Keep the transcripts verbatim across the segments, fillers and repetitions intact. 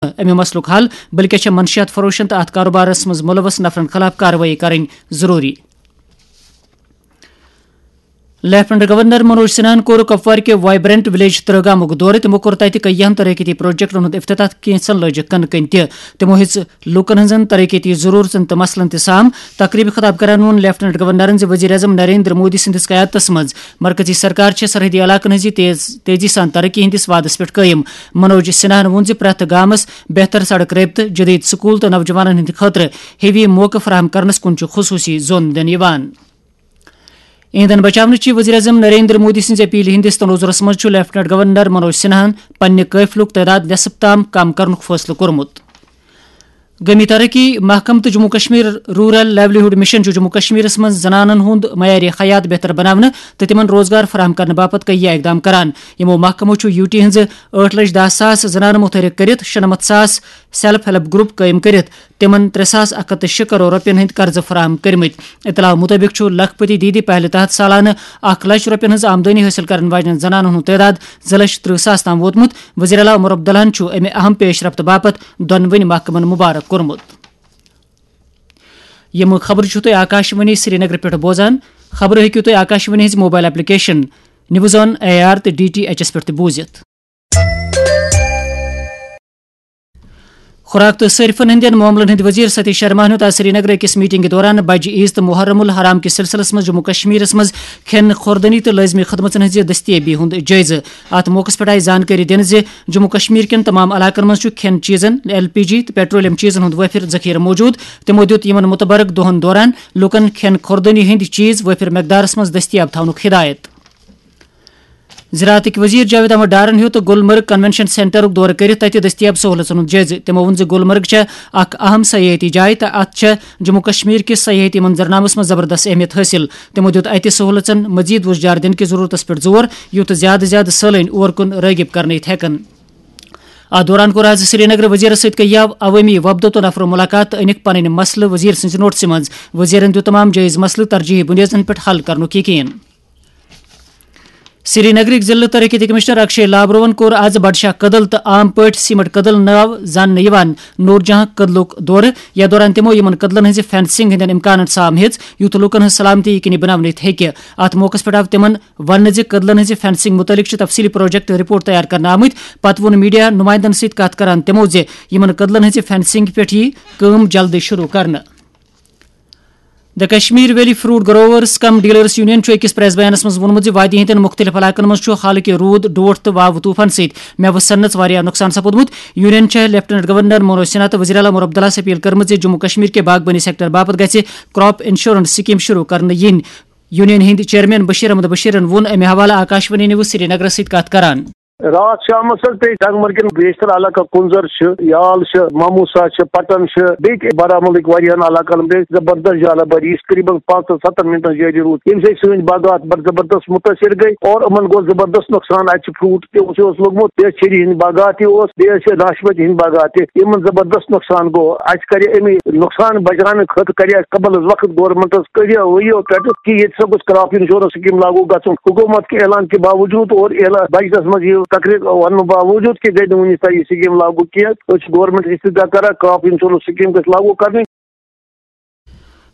امہِ مسلُک حل، بلکہ چھےٚ منشیات فروشن تہٕ اتھ کاروبارس منٛز ملوث نفرن خلاف کاروٲیی کرٕنۍ ضروری۔ لیفٹیننٹ گورنر منوج سنہاہن کوٚر کپوارِ کہِ وائبرنٹ ولیج ترہ گامُک دورٕ۔ تِمو کوٚر تتہِ کیہن ترقیتی پروجیکٹن ہُنٛد افتتاح، کینٛژن لٲجِکھ کٕنہٕ کٔنۍ تہِ۔ تِمو ہیٚژ لوٗکن ہٕنٛزن ترقیتی ضروٗرتن تہٕ مسلن تہِ سام۔ تقریبہِ خطاب کران ووٚن لیفٹیننٹ گورنرن زِ وزیر اعظم نریندر مودی سٕنٛدِس قیادتس منٛز مرکزی سرکار چھےٚ سرحدی علاقن ہٕنٛزِ تیز، تیزی سان ترقی ہٕنٛدِس وعدس پٮ۪ٹھ قٲیِم۔ منوج سنہاہن ووٚن زِ پرٛٮ۪تھ گامس بہتر سڑک رٲبطہٕ، جدید سکول تہٕ نوجوانن ہٕنٛدِ خٲطرٕ ہیوی موقعہٕ فراہم کرنس کُن چھُ خصوصی زون دِنہٕ یِوان۔ ایندھن بچاونٕچہِ وزیر اعظم نریندر مودی سٕنٛزِ اپیلہِ ہٕنٛدِس تناظرس منٛز چھُ لیفٹیننٹ گورنر منوج سنہاہن پننہِ قٲفلُک تعداد نٮ۪صٕف تام کم کرنُک فٲصلہٕ کوٚرمُت۔ گٲمی ترقی محکمہٕ تہٕ Jammu Kashmir rural livelihood mission چھُ جموں کشمیرس منٛز زنانن ہُنٛد معیارِ حیات بہتر بناونہٕ تہٕ تِمن روزگار فراہم کرنہٕ باپتھ کیٚنٛہہ اقدام کران۔ یِمو محکمو چھُ یوٗ ٹی ہٕنٛزٕ ٲٹھ لچھ دَہ ساس زنانہٕ مُتحرک کٔرِتھ شُنَمَتھ ساس سیلف ہیلپ گروپ قٲیِم کٔرِتھ تِمن ترٛےٚ ساس اکھ ہتھ تہٕ شےٚ کرور رۄپین ہٕنٛدۍ قرضہٕ فراہم کٔرمٕتۍ۔ اطلاع مُطٲبِق چھُ لکھ پتی دیدی پہلہِ تحت سالانہٕ اکھ لچھ رۄپین ہٕنٛز آمدنی حٲصِل کرن واجنٮ۪ن زنانن ہُنٛد تعداد زٕ لچھ ترٕہ ساس تام ووتمُت۔ وزیر اعلیٰ عمر عبداللہن چھُ امہِ اہم پیش رفت باپتھ دۄنوٕنی محکمن مبارک کوٚرمُت۔ یِم خبرٕ چھِو تُہۍ آکاشوانی سرینگرٕ پٮ۪ٹھ بوزان۔ خبرٕ ہیٚکِو تُہۍ آکاشوانی ہٕنٛزِ mobile application news on A R تہٕ ڈی ٹی ایچ ایس پٮ۪ٹھ تہِ بوٗزِتھ۔ خوراک تہٕ صٲرفن ہٕنٛدٮ۪ن معاملن ہٕنٛدۍ وزیر ستیش شرماہن ہیوٚت آز سرینگرٕ أکِس میٹنگہِ دوران بجہِ عیز تہٕ محرم الحرام کِس سلسلس منٛز جموں کشمیرس منٛز کھٮ۪ن، خوردنی تہٕ لٲزمی خدمژن ہٕنٛزِ دستیٲبی ہُنٛد جٲیزٕ۔ اتھ موقعس پٮ۪ٹھ آیہِ زانکٲری دِنہٕ زِ جموں کشمیر کٮ۪ن تمام علاقن منٛز چھُ کھٮ۪ن چیٖزن، ایل پی جی تہٕ پیٹرولیم چیٖزن ہُنٛد وٲفر ذخیرٕ موجود۔ تِمو دِیُت یِمن متبرک دۄہن دوران لوٗکن کھٮ۪ن، خوردنی ہٕنٛدۍ چیٖز وٲفر مقدارس منٛز دستیاب تھاونُک ہدایت۔ زراعتٕکۍ وزیر جاوید احمد ڈارن ہیوٚت گلمرگ کنونشن سینٹرُک دورٕ کٔرِتھ تتہِ دستیاب سہولژن ہُنٛد جٲیزٕ۔ تِمو ووٚن زِ گلمرگ چھےٚ اکھ اہم سیاحتی جاے تہٕ اتھ چھےٚ جموں کشمیر کِس سیاحتی منظرنامس منٛز زبردست اہمیت حٲصِل۔ تِمو دِیُت اتہِ سہولژن مزید وُژھ جار دِنہٕ کِس ضرورتس پٮ۪ٹھ زور، یُتھ زیادٕ زیادٕ سٲلٲنۍ اور کُن رٲغب کرنہٕ یِتھ ہٮ۪کن۔ اتھ دوران کوٚر آز سرینگر وزیرس سۭتۍ کیاو عوٲمی وفدو تہٕ نفرو مُلاقات تہٕ أنِکھ پنٕنۍ مسلہٕ وزیر سٕنٛزِ نوٹسہِ منٛز۔ وزیرن دِیُت تمام جٲیز مسلہٕ ترجیحی بُنیادن پٮ۪ٹھ حل کرنُک یقین۔ سرینگرٕکۍ ضلعہٕ ترقیتی کمشنر اکشے لابروَن کوٚر آز بڈشاہ کدل تہٕ عام پٲٹھۍ سیمٹ کدل ناو زاننہٕ یِوان نور جہاں کدلُک دورٕ۔ یتھ دوران تِمو یِمن کدلن ہٕنٛزِ فینسنگ ہٕنٛدٮ۪ن امکانن سام ہیٚژ، یُتھ لوٗکن ہٕنٛز سلامتی یقینی بناونہٕ یِتھ ہیٚکہِ۔ اتھ موقعس پٮ۪ٹھ آو تِمن وننہٕ زِ کدلن ہٕنٛزِ فینسنگ مُتعلق چھِ تفصیلی پروجیکٹ رپورٹ تیار کرنہٕ آمٕتۍ۔ پتہٕ ووٚن میڈیا نمائندن سۭتۍ کتھ کران تِمو زِ یِمن کدلن ہٕنٛزِ فینسنگ پٮ۪ٹھ یِیہِ کٲم جلدی شروع کرنہٕ۔ The Kashmir Valley Fruit Growers cum Dealers Union چھُ أکِس پریس بیانَس منٛز ووٚنمُت زِ وادی ہٕنٛدٮ۪ن مُختٔلِف علاقَن منٛز چھُ حالٕکہِ روٗد، ڈوٹھ تہٕ واوٕ طوٗفان سۭتۍ مٮ۪وٕ سَننَس واریاہ نۄقصان سپُدمُت۔ یونین چھےٚ لیفٹیننٹ گورنر منوج سنہا تہٕ وزیر اعلیٰ عمر عبداللہَس اپیل کٔرمٕژ زِ جموں کشمیر کہِ باغبٲنی سیکٹر باپتھ گژھِ کراپ انشورنس سکیم شروع کرنہٕ یِنۍ۔ یونین ہٕنٛدۍ چیئرمین بشیر احمد بشیرن ووٚن اَمہِ حوالہٕ آکاشوانی نیوز سرینگرَس سۭتۍ کتھ کران۔ راتھ شامس حظ پیٚیہِ ٹنگمرگٮ۪ن بیشتر علاقن، کُنزر چھِ، یال چھِ، ماموسا چھِ، پٹن چھِ، بیٚیہِ تہِ بارہمولہٕکۍ واریاہن علاقن پیٚیہِ زبردست جالہ بٲری، یُس قریباً پانٛژن ستن منٹن جٲری روٗد، ییٚمہِ سۭتۍ سٲنۍ باغات بڑٕ زبردست مُتٲثر گٔے اور یِمن گوٚو زبردست نۄقصان۔ اَتہِ چھُ فروٹ تہِ اوس، یہِ اوس لوٚگمُت، بیٚیہِ چھیٚرِ ہٕنٛدۍ باغات تہِ اوس، بیٚیہِ ٲسۍ ناشپٲتۍ ہٕنٛدۍ باغات تہِ، یِمن زبردست نۄقصان گوٚو۔ اَسہِ کرِ اَمہِ نۄقصان بچاونہٕ خٲطرٕ کرِ اَسہِ قبل از وقت گورنمنٹس کٔرِو وٕنیو پٮ۪ٹھٕ کہِ ییٚتہِ ہسا گوٚژھ کراپ انشورنس سکیٖم لاگو گژھُن۔ حکوٗمت کہِ اعلان کہِ باوجوٗد اور اعلان بجٹس منٛز یہِ تقریر وننہٕ باوجوٗد کہِ گٔے نہٕ وُنہِ تام یہِ سکیٖم لاگو کینٛہہ۔ أسۍ چھِ گورنمنٹ استدعا کران کراپ انشورنس سکیٖم گژھِ لاگو کرنہٕ۔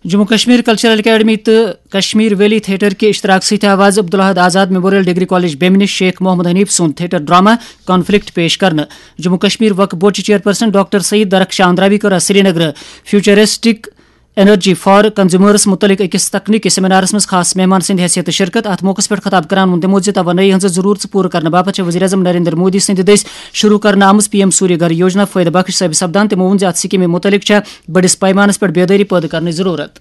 جموں کشمیر کلچرل اکیڈمی تہٕ کشمیر ویلی تھیٹر کہِ اشتراک سۭتۍ آو آز Abdul Ahad Azad memorial degree college بیمنہِ شیخ محمد حنیف سُنٛد تھیٹر ڈرامہ کانفلکٹ پیش کرنہٕ۔ جموں کشمیر وقف بورڈ چہِ چیئرپرسن ڈاکٹر سعید درخشاں اندرابی کٔر آز سرینگرٕ فیوچرسٹک انرجی فار کنزیومرس متعلق أکِس تکنیکی سیمینارس منٛز خاص مہمان سٕنٛدِ حیثیتہٕ شرکت۔ اتھ موقعس پٮ۪ٹھ خطاب کران ووٚن تِمو زِ توانٲیی ہٕنٛز ضروٗرژ پوٗرٕ کرنہٕ باپتھ چھےٚ وزیر اعظم نریندر مودی سٕنٛدِ دٔسۍ شروع کرنہٕ آمٕژ پی ایم سوریہ گھر یوجنا فٲیدٕ بخش ثٲبت سپدان۔ تِمو ووٚن زِ اتھ سکیمہِ متعلق چھےٚ بٔڑِس پیمانس پٮ۪ٹھ بیدٲری پٲدٕ کرنٕچ ضروٗرت۔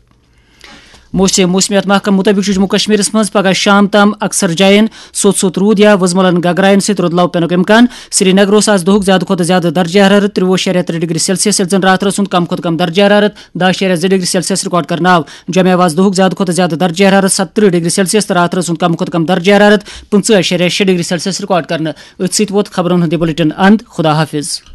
موسم، موسمیات محکمہٕ مُطٲبِق چھُ جموں کشمیرس منٛز پگہہ شام تام اکثر جاین سوٚت سوٚت روٗد یا وُزملن گگراین سۭتۍ رُدلاو پینُک امکان۔ سرینگر اوس آز دۄہُک زیادٕ کھۄتہٕ زیادٕ درجہ حرارت ترٛوُہ اَشاریہ ترٛےٚ ڈگری سیلسیس، ییٚلہِ زن راتھ رٲژ ہُنٛد کم کھۄتہٕ کم درجہ حرارت دَہ اَشاریہ زٕ ڈگری سیلسیس ریکارڈ کرنہٕ آو۔ جمعہ آو آز دۄہُک زیادٕ کھۄتہٕ زیادٕ درجہ حرارت ستترٕہ ڈگری سیلسیس تہٕ راتھ رٲژ ہُنٛد کم کھۄتہٕ کم درجہ حرارت پٕنٛژٕہ اَشاریہ شےٚ ڈگری سیلسیس ریکارڈ کرنہٕ۔ أتھۍ سۭتۍ ووت خبرن ہُنٛد یہِ بُلٹن اند۔ خدا حافظ۔